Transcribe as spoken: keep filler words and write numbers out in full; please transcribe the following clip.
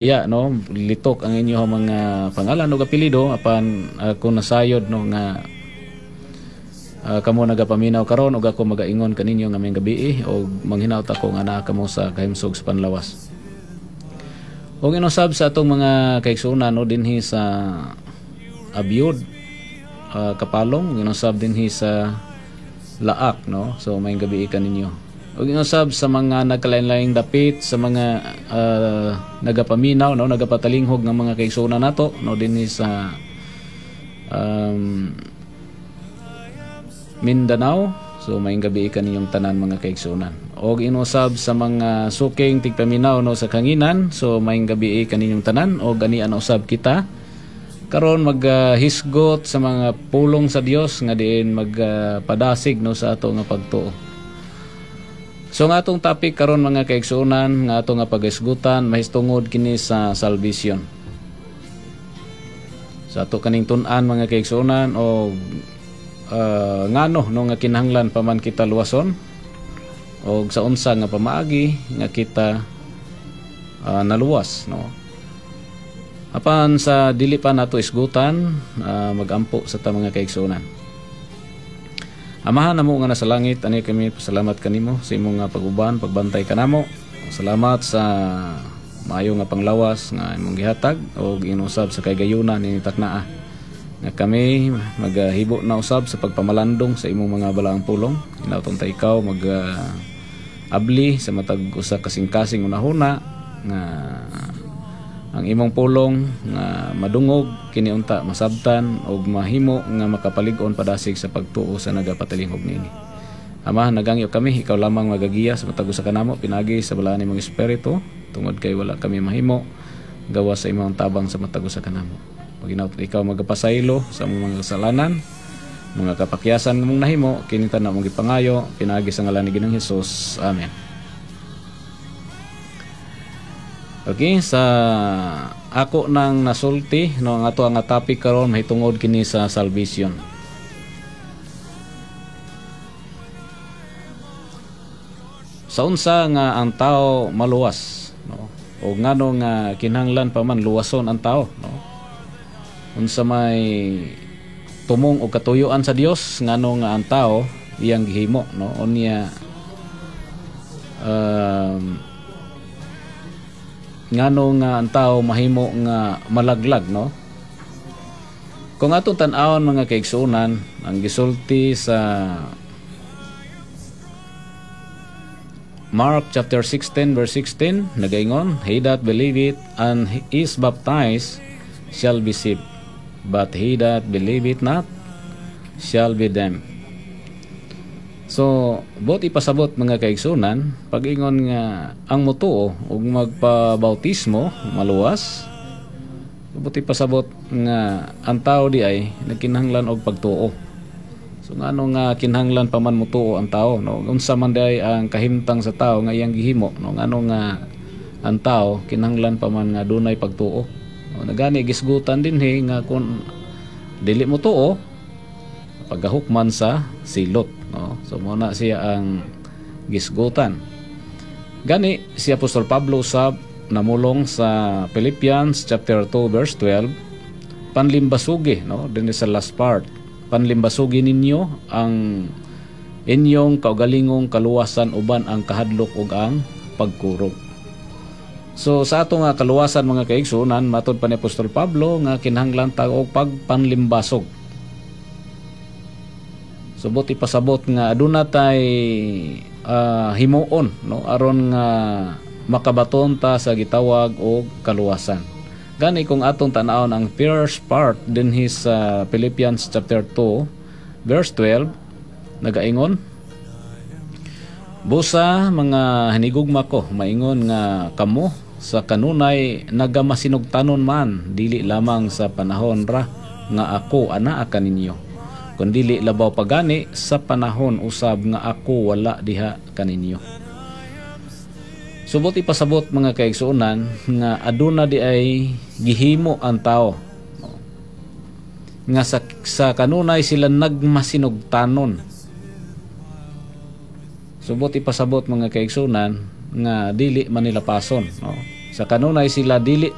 Ya, no, litok ang inyong mga pangalan ug apelyido, apan ako nasayod, no, nga uh, kamo nagapaminaw karon ug ako magaingon kaninyo nga maayong gabii og manghinaot ako nga naa kamo sa kahimsog sa panlawas. Ug inusab sa atong mga kaigsuonan, no, dinhi sa Abiod, uh, Kapalong, inusab dinhi sa Laak, no. So maayong gabii kaninyo. Ug inusab sa mga nagkalain-laing dapit, sa mga uh, nagapaminaw, no, nagapatalinghog ng mga kaigsuonan nato, no, dinhi sa um, Mindanao. So maayong gabii kaninyong tanan, mga kaigsuonan. Og inusab sa mga suking tigpaminaw, no, sa kanginan. So maayong gabii kaninyong tanan og ganian usab kita karon maghisgot sa mga pulong sa Dios nga diin magpadasig, no, sa ato nga pagtuo. So nga atong topic karon, mga kaigsuonan, nga ato nga paghisgutan, mahitungod kini sa salvation. Sa ato kaning tun-an, mga kaigsuonan, og uh, ngano, no, nga kinahanglan pa man kita luwason og sa unsa nga pamaagi nga kita uh, naluwas, no. Apan sa dili pa nato isgutan, uh, magampo sa ta, mga kaigsuonan. Amahan namo nga nasa langit, ani kami pasalamat kanimo sa imong nga pag-uban, pagbantay kanamo. Salamat sa maayo nga panglawas nga imong gihatag og inusab sa kaygayuna ni taknaa nga kami magahibo na usab sa pagpamalandong sa imong mga balaang pulong. Hinaot ta ikaw mag uh, abli sa matag usa kasing-kasing unahuna nga ang imong pulong nga madungog kini unta, masabtan og mahimo nga makapalig-on padasig sa pagtuo sa nagapatalingog niini. Ama, nagangyo kami, ikaw lamang magagiya sa matag usa kanamo pinagi sa balaan nimong espiritu, tungod kay wala kami mahimo gawas sa imong tabang sa matag usa kanamo. Paginaot ikaw magapasaylo sa among mga kasalanan, mga kapakyasan nga among nahimo, kini tanan among gipangayo pinagi sa ngalan ni Ginoong Hesus. Amen. Okay, sa ako nang nasulti, no, ang ato ang topic karon mahitungod kini sa salvation. Sa unsa nga ang tao maluwas, no? O ngano nga kinahanglan pa man luwason ang tao, no? Unsa may tumong og katuyuan sa Dios, ngano nga ang tao iyang gihimo, no? Unya um, ngano nga ang tao mahimo nga malaglag, no? Kung atong tan-awon, mga kaigsuonan, ang gisulti sa Mark chapter sixteen verse sixteen, nagaingon, "He that believeth and is baptized shall be saved, but he that believeth not shall be damned." So, buot ipasabot, mga kaigsunan, pag-ingon nga ang mutuo ug magpabautismo maluwas, buot ipasabot nga ang tao di ay nagkinahanglan og pagtuo. So ngano nga kinahanglan pa man mutuo ang tao, no? Unsa man di ay ang kahimtang sa tao nga iyang gihimo, no? Ngano nga ang tao kinahanglan pa man nga dunay pagtuo? No, nagani gisgutan dinhi nga kung dili mo tuo, pagahukman sa silot, no? So mo na siya ang gisgutan. Gani si Apostol Pablo usab namulong sa Philippians chapter two verse twelve, panlimbasugi, no, dinhi sa last part, panlimbasugi ninyo ang inyong kaugalingong kaluwasan uban ang kahadlok ug ang pagkurog. So sa ato nga kaluwasan, mga kaigsuonan, matod pa ni Apostol Pablo nga kinahanglan ta og pagpanlimbasog. So buot ipasabot nga aduna tay uh, himuon, no, aron nga makabaton ta sa gitawag og kaluwasan. Gani kung atong tan-awon ang first part dinhi sa Philippians chapter two verse twelve, nagaingon, "Busa mga hinigugma ko, maingon nga kamo sa kanunay nagamasinugtanon man, dili lamang sa panahon ra nga ako anaa kaninyo, kundili labaw pagani sa panahon usab nga ako wala diha kaninyo." Subot ipasabot, mga kaigsuonan, nga aduna di ay gihimo ang tao, no? Nga sa, sa kanunay sila nagmasinugtanon. Subot ipasabot, mga kaigsuonan, nga dili man nila pason, no? Sa kanunay sila dili.